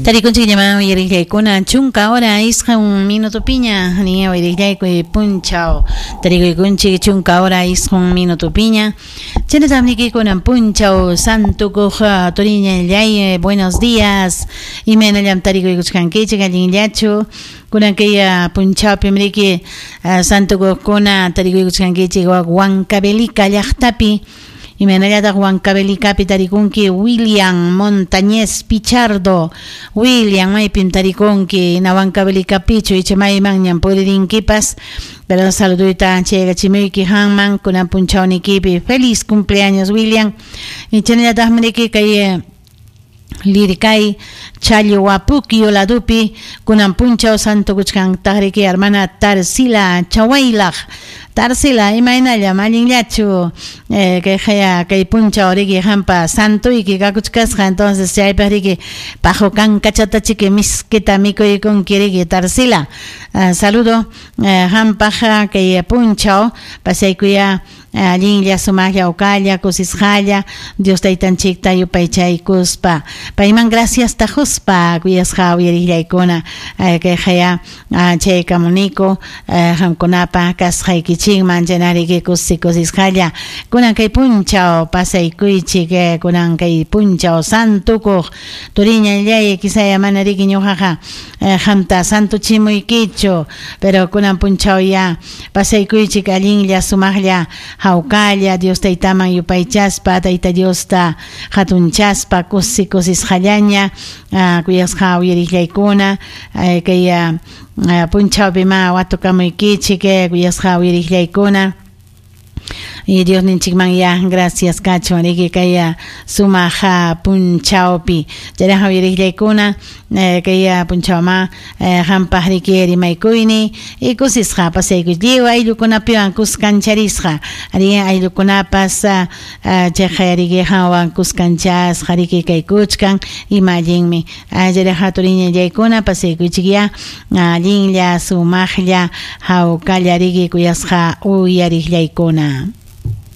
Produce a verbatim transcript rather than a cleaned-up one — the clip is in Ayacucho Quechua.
Tarikunchik llaman uyariqllaykuna chunka hora isqun minutupiña niña uyariqllaykuy punchaw tarikuykunchik chunka hora isqun minutupiña chaynatam nikikunan punchaw santukuq turiñallay. Buenos días, imaynallam tarikuykuchkankichik, allinllachu kunan kay punchawpim riki santukuqkuna tarikuykuchkankichik Huancavelica llaqtapi. Imaynallataq Huancavelicapi tarikunki William Montañez Pichardo. William, maypim tarikunki, na Huancavelicapichu icha maymanñam puririnkipas, pero saluduyta chaygachimuyki hanman kunan punchawnikipi. Feliz cumpleaños, William. Chaynallataqmi riki kay Lircay Chalhuapukio ladupi kunan punchaw santukuchkantaq riki hermana Tarsila Chawaylaq. Tarsila, imaynallam, allinllachu eh, kay haya kay punchaw riki hampa santuyki kakuchkasqa, entonces chaypaq riki paqu kankachatachiki miskita mikuykunki riki Tarsila. Uh, saludo uh, hampaq kay punchaw pasaykuya allinlla sumaqlla uqalla kusisqalla Dios taytanchikta yupaychaykuspa payman gracias tajuspa kuyasqa uyariqllaykuna kay haya chaykamuniku qamkunapa kasqaykichikman chaynariki kusi kusisqalla kunan kay punchaw pasaykuychik kunan kay punchaw santukuq turiñallay quizaya mana riki ñuqaqa qamta santuchimuykichu pero kunan punchaw ya pasaykuychik allinlla sumaqlla hawkalla Dios taytaman yupaychaspa tayta Diosta hatunchaspa kusi kusisqallaña kuyasqa uyariqllaykuna kay punchawpi ma watukamuykichik kuyasqa uyariqllaykuna. Y Dios ninchikman ya gracias kachun riki kay sumaq punchawpi chayraqa uyariqllaykuna kay punchawma hampaq riki rimaykuyni y kusisqa pasaykuy lliw ayllukunapiwan kuskancharisqa ari ayllukunapas chayqa riki qanwan kuskanchasqa riki kaykuchkan ima allinmi chayraqa turiñallaykuna pasaykuychik ya allinlla sumaqlla hawkalla riki kuyasqa uyariqllaykuna.